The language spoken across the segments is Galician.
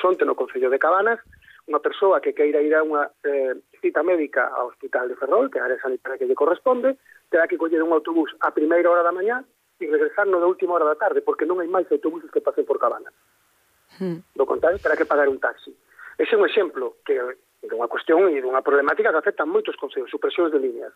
Onte, no Concello de Cabanas, unha persoa que queira ir a unha cita médica ao Hospital de Ferrol, que é a área sanitaria que lle corresponde, terá que coller un autobús a primeira hora da mañá e regresar no da última hora da tarde, porque non hai máis autobuses que pasen por Cabanas. Do contrario, terá que pagar un taxi. Ese é un exemplo que de unha cuestión e dunha problemática que afecta a moitos concellos, supresións de líneas.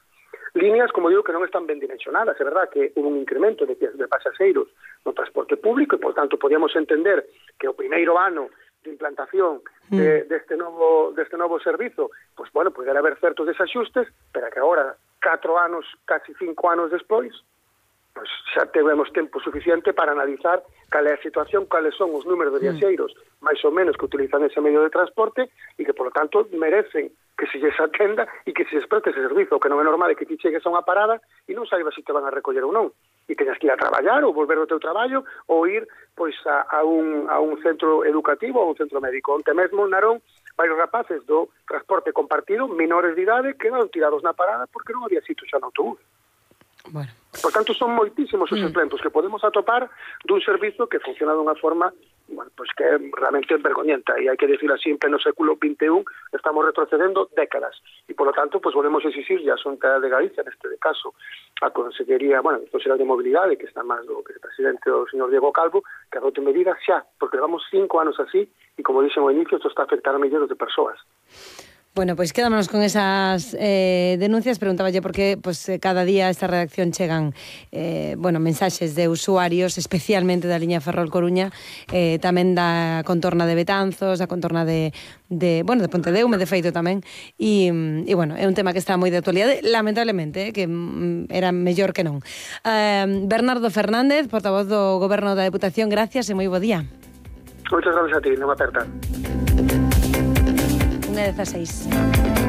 Líneas, como digo, que non están ben dimensionadas. É verdad que hubo un incremento de pasaxeiros no transporte público e, por tanto, podíamos entender que o primeiro ano de implantación deste novo servizo, pois, bueno, poderá haber certos desaxustes, pero que agora, 4 anos, casi 5 anos despois, pois xa tivemos tempo suficiente para analizar cal é a situación, cales son os números de viaxeiros máis ou menos que utilizan ese medio de transporte e que, polo tanto, merecen que se lles atenda e que se lles preste ese servizo, que non é normal que ti chegues a unha parada e non saibas se te van a recoller ou non, e teñas que ir a traballar ou volver do teu traballo ou ir pois a un centro educativo ou a un centro médico. Onte mesmo, Narón, varios rapaces do transporte compartido, menores de idade, quedaron tirados na parada porque non había sitio xa no autobús. Bueno. Por tanto, son moitísimos os exemplos que podemos atopar dun servizo que funciona dunha forma, bueno, pues que é realmente vergoñenta, e hai que decir así, en pleno século XXI estamos retrocedendo décadas, e polo tanto, pues volvemos a exigir a Xunta de Galicia, neste caso, a Consellería, bueno, a Consellería de Mobilidade, que está máis do que o presidente o señor Diego Calvo, que adote medidas xa, porque levamos 5 anos así, e como dixen ao inicio, isto está a afectar a millóns de persoas. Bueno, pois quedámonos con esas denuncias. Preguntáballe porque cada día a esta redacción chegan mensaxes de usuarios, especialmente da liña Ferrol-Coruña, tamén da contorna de Betanzos, da contorna de Pontedeume, de feito tamén, e bueno, é un tema que está moi de actualidade, lamentablemente, que era mellor que non. Bernardo Fernández, portavoz do Goberno da Deputación, gracias e moi bo día. Moitas gracias a ti, non aperta. 1:16.